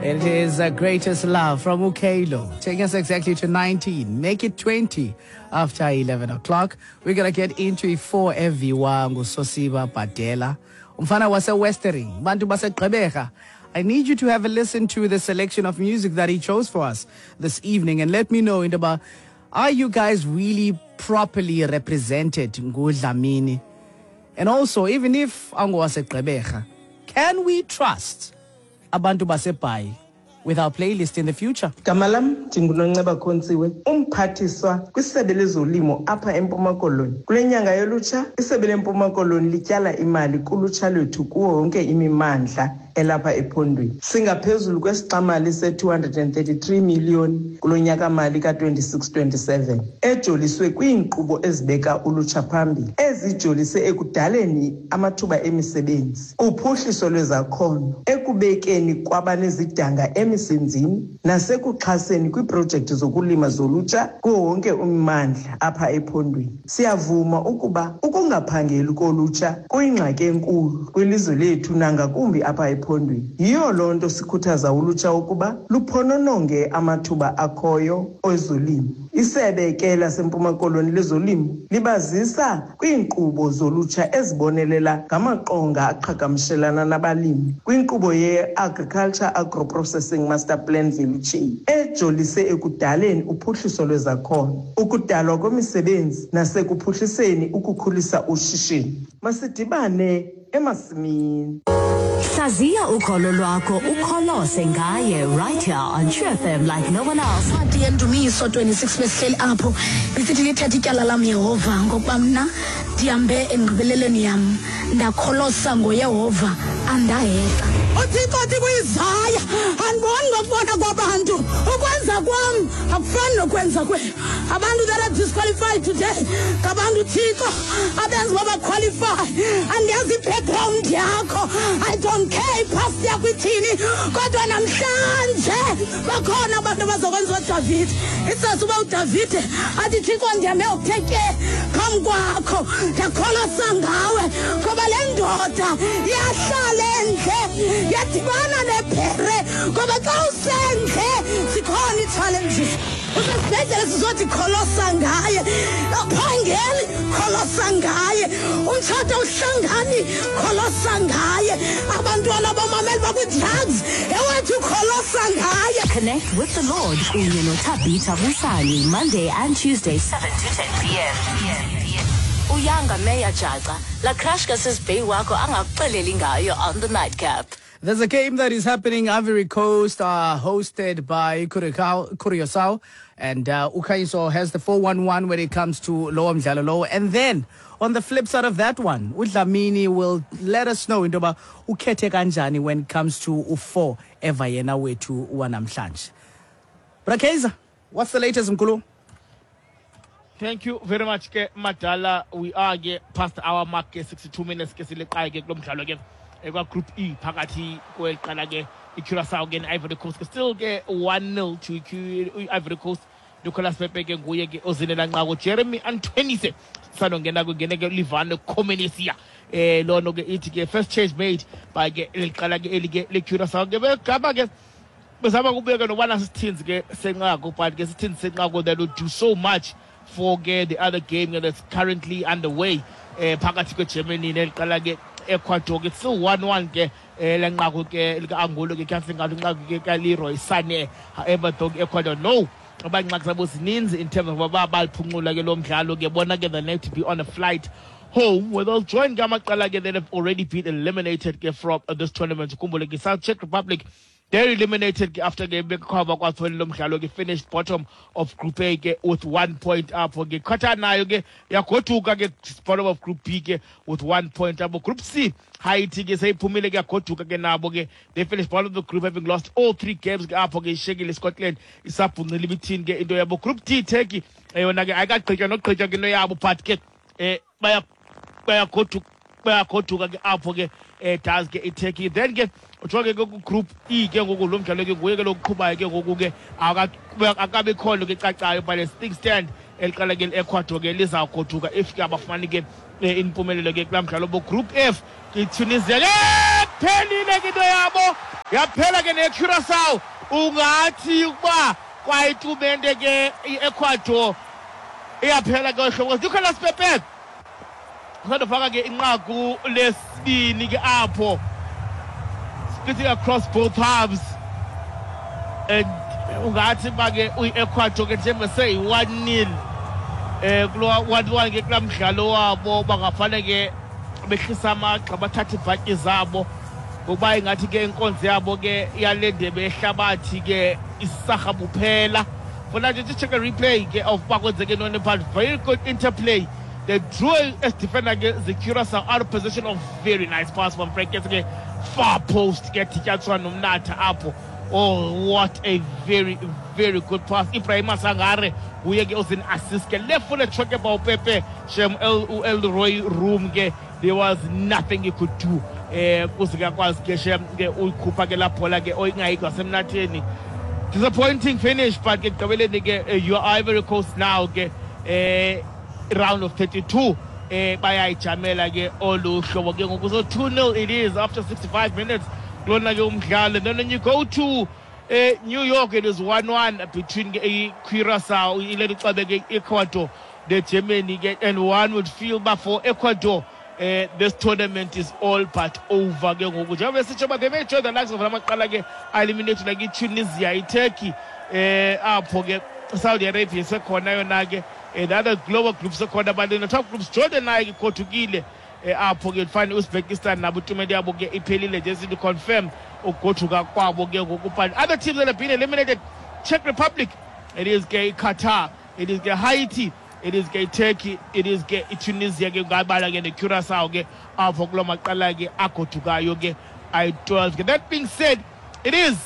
It is the greatest love from Ukalo, taking us exactly to 19. Make it 20 after 11 o'clock. We're going to get into i-4 eviwa nguSosiba Badela. Umfana wase-Westering, bantu baseGqeberha. I need you to have a listen to the selection of music that he chose for us this evening and let me know into about are you guys really properly represented nguDlamini? And also, even if angowaseGqeberha, can we trust abantu baseBhayi with our playlist in the future? Gama lam ndinguNonceba Khontsiwe, umphathiswa kwisebe lezolimo apha eMpuma Koloni. Kule nyanga yolutsha, isebe leMpuma Koloni lityala imali kulutsha lwethu kuwo wonke imimandla elapha ephondweni. Singaphezulu kwesixamali se-233 miliyoni kulo nyaka-mali ka-26-27 ejoliswe kwiinkqubo ezibeka ulutsha phambili, ezijolise ekudaleni amathuba emisebenzi, uphuhliso lwezakhono, ekubekeni kwabanezidanga emisebenzini nasekuxhaseni kwiiprojekthi zokulima zolutsha kuwo wonke ummandla apha ephondweni. Siyavuma ukuba ukungaphangeli kolutsha kuyingxaki enkulu kwilizwe lethu nangakumbi apha ephondweni. Yiyo loo nto sikhuthaza ulutsha ukuba luphonononge amathuba akhoyo ezolimo. Isebe ke laseMpuma Koloni lezolimo libazisa kwiinkqubo zolutsha ezibonelela ngamaqonga aqhagamshelana nabalimi kwinkqubo ye-Agriculture Agro-Processing Master Plan Value Chain ejolise ekudaleni uphuhliso lwezakhono, ukudalwa kwemisebenzi nasekuphuhliseni ukukhulisa ushishino. Masidibane emasimini. Hlaziya ukholo lwakho ukholose ngaye right here on True FM like no one else. Incwadi yeNdumiso 26 besihleli apho isithi lithetha ityala lam Yehova ngokuba mna ndihambe engqibelelweni yam ndakholosa ngoYehova andahexa. UThixo uthi kuIsaya andiboni ngokubona kwabantu ukwenza kwam akufani nokwenza kwenu. Abantu that are disqualified today ngabantu uThixo abenza uba baqualify. Andiyazi i-background yakho, I don't care ipast yakho ithini, kodwa namhlanje bakhona abantu abazokwenza uDavide. Isazi uba uDavide athi Thixo ndihambe ngokuthe tye phambi kwakho ndakholosa ngawe, ngoba le ndoda yahlala endle yadibana nebhere, ngoba xa usendle zikhona ii-challenges. Usesibhedlele sizothi kholosa ngaye, awuphangeli kholosa ngaye, umtshato awuhlangani kholosa ngaye, abantwana abamameli bakwi-drugs ewethu kholosa ngaye. Connect with the Lord kunye noThabitha Busani Monday and Tuesday 7 to 10 p.m. Uyanga Meya Jaca, la crush kaSisBay wakho angakuxeleli ngayo on the nightcap. There's a game that is happening. Ivory Coast are hosted by Curacao, and Ukaiso has the 4-1-1 when it comes to lowo mdlalo lowo. And then on the flip side of that one, uDlamini will let us know into yoba ukhethe kanjani when it comes to u4 eva yena wethu wanamhlanje. Brakeza, what's the latest mkhulu? Thank you very much ke Madala. We are ke past our mark ke 62 minutes ke sileqayo ke kulo mdlalo ke ekwa Group E phakathi kweqala ke iCuracao ke ne-Ivory Coast ke still ke 1-0 to i-Ivory Coast. Nicolas Pepe ke nguye ke ozinela nqaku. Jeremy Antonisse sanongena kungene ke Livano Comenencia. Lono ke ithi ke first change made by ke liqala ke eli ke leCuracao ke begaba ke bezama kubeka nobana sisithinzi ke senqaku, but ke sisithinzi senqaku that will do so much for ke the other game that's currently underway phakathi kweGermany neliqala ke Ecuador ke still 1-1 ke lenqaku ke lika-Angulo ke kuyafika ngathi inqaku ke kaLeroy Sané. However though Ecuador no abangxaki zabo zininzi in terms of uba baliphuncula ke lo mdlalo ke bona ke they need to be on a flight home where they'll join ke amaqela ke that have already been eliminated ke from this tournament. Ukhumbule ke South Czech Republic they're eliminated ke after ke bekhaba kwathole lo mdlalo ke finished bottom of Group A ke with 1 point apho ke. Qatar nayo ke yagoduka ke bottom of Group B ke with 1 point apho. Group C Haiti ke seyiphumile ke yagoduka ke nabo ke they finished bottom of the group having lost all 3 games ke apho ke ishekile Scotland isabhungcile ibithini ke into yabo. Group D Turkey eyona ke ayikagqitywa nogqitywa ke into yabo but ke bayagoduka ke apho ke does ke iTurkey. Then ke ujonge ke ku Group E ke ngoku lo mdlalo ke nguye ke lokuqhubayo ke ngoku ke akabi khona ke cacayo but as things stand eliqala ke Ecuador ke lizawugoduka if ke abafumani ke impumelelo ke kulaa mdlalo bo Group F iTunisia ke. Phelile ke into yabo, yaphela ke neCuracao. Ungathi ukuba kwayitumente ke i-Ecuador iyaphela ke ohlobo. Nicolas Pepe usandofaka ke inqaku lesibini ke apho, splitting across both halves, and ungathi uba ke uyi-Ecuador ke njengoba seyi-1-0 kulo 1-1 ke kulaa mdlalo wabo, bangafane ke behlisa amagxa, bathathe iibhatyi zabo, ngokuba ingathi ke inkonzo yabo ke yale ndebe yehlabathi ke isarha buphela. For now, just check a replay ke of uba kwenzeke ntoni, but very good interplay. They drew as defender ke zeCuracao out of position of very nice pass from Frank ke far post ke dityaniswa nomnatha apho. Oh, what a very, very good pass. Ibrahima Sangare nguye ke ozin-assist ke, left footed shot ke uPepe shem Elroy Room ke, there was nothing he could do kuze kuyakwazi ke shem ke uyikhupha ke laa bhola ke oyingayikho ngasemnatheni. Disappointing finish, but ke ekugqibeleni ke you are Ivory Coast now ke round of 32 bayayijamela ke olu hlobo ke ngoku. So 2-0 it is after 65 minutes kulona ke umdlalo. Then when you go to New York, it is 1-1 between ke i-Curacao, ileli xabe ke Ecuador neGermany ke, and one would feel but for Ecuador this tournament is all but over ke ngoku, njengoba besitsho uba they may join the likes of lamaqala ke eliminate like iTunisia, iTurkey apho ke Saudi Arabia sekhona yona ke, the other global groups sekhona, but in the top groups Jordan naye ke igothukile apho ke. Fine, Uzbekistan nabo itumente yabo ke iphelile nje, sithi confirm ukugothuka kwabo ke ngoku. But other teams that have been eliminated, Czech Republic, it is ke Qatar, it is ke Haiti, it is ke Turkey, it is ke iTunisia ke, ngabala ke neCuracao ke apho kuloo maqala ke agodukayo ke ayi-12 ke. That being said, it is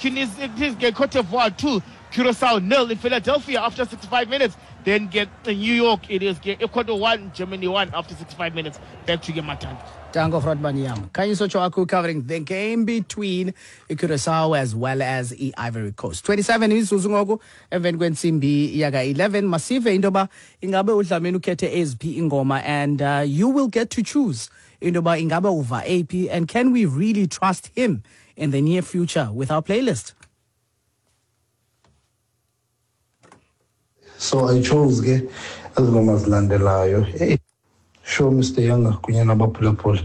Tunisia, it is ke Cote d'Ivoire 2, Curacao 0 in Philadelphia after 65 minutes. Then get in New York, it is ke Ecuador 1, Germany 1 after 65 minutes. Back to you, Matan. Danko Frotman Yam. Khanyiso Tshwaku covering the game between Curacao as well as i-Ivory Coast. 27 imizuzu ngoku emveni kwentsimbi yaka 11. Masive into yoba ingabe uDlamini ukhethe eziphi ingoma, and you will get to choose into yoba ingabe uva aphi, and can we really trust him in the near future with our playlist? So I chose ke ezi ngoma zilandelayo. Hey, sure, Mr Younger kunye nabaphulaphula,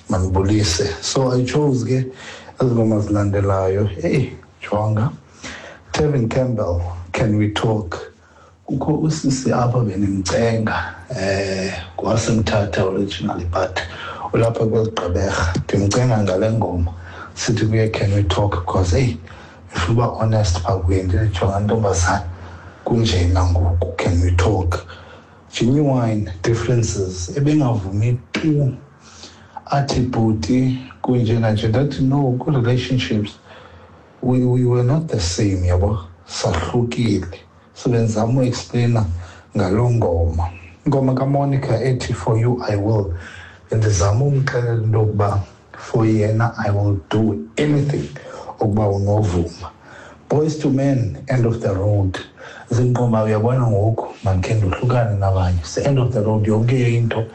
mandibulise. So I chose ke ezi ngoma zilandelayo. Hey, jonga, Tevin Campbell, "Can We Talk". Kukho usisi apha benimcenga kwasemthatha originally, but ulapha kweli Gqeberha. Ndimcenga ngale ngoma, sithi kuye, "Can we talk?" Because hey, ndifuna uba honest phaa kuye, ndithi, "Jonga ntombazana, kunjena ngoku, can we talk?" Genuine Differences. Ebengavumi tu, athi, "Bhuti, kunjena nje." Ndathi, "No, kwi-relationships we were not the same, yabo, sahlukile." So benzama uexplaina ngaloo ngoma, ingoma kaMonica ethi "For You I Will". Bendizama umxelela into yokuba for yena I will do anything ukuba unovuma. Boyz II Men, "End of the Road". Zinqoma, uyabona ngoku mandikhe ndohlukane nabanye, se-end of the road, yonke into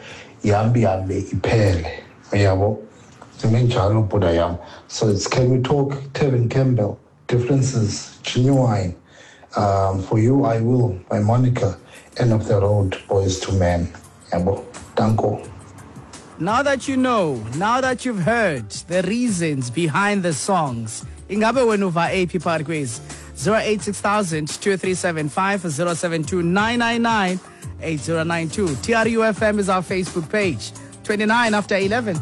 ihambe ihambe iphele, uyabo, ndime njalo bhuda yam. So it's "Can We Talk", Tevin Campbell, Differences, Genuine, "For You I Will" by Monica, "End of the Road", Boyz II Men, yabo. Danko. Now that you know, now that you've heard the reasons behind the songs, ingabe wena uva aphi phakathi kwezi? 086 2375 072 999 8092. TRUFM is our Facebook page. 29 after 11.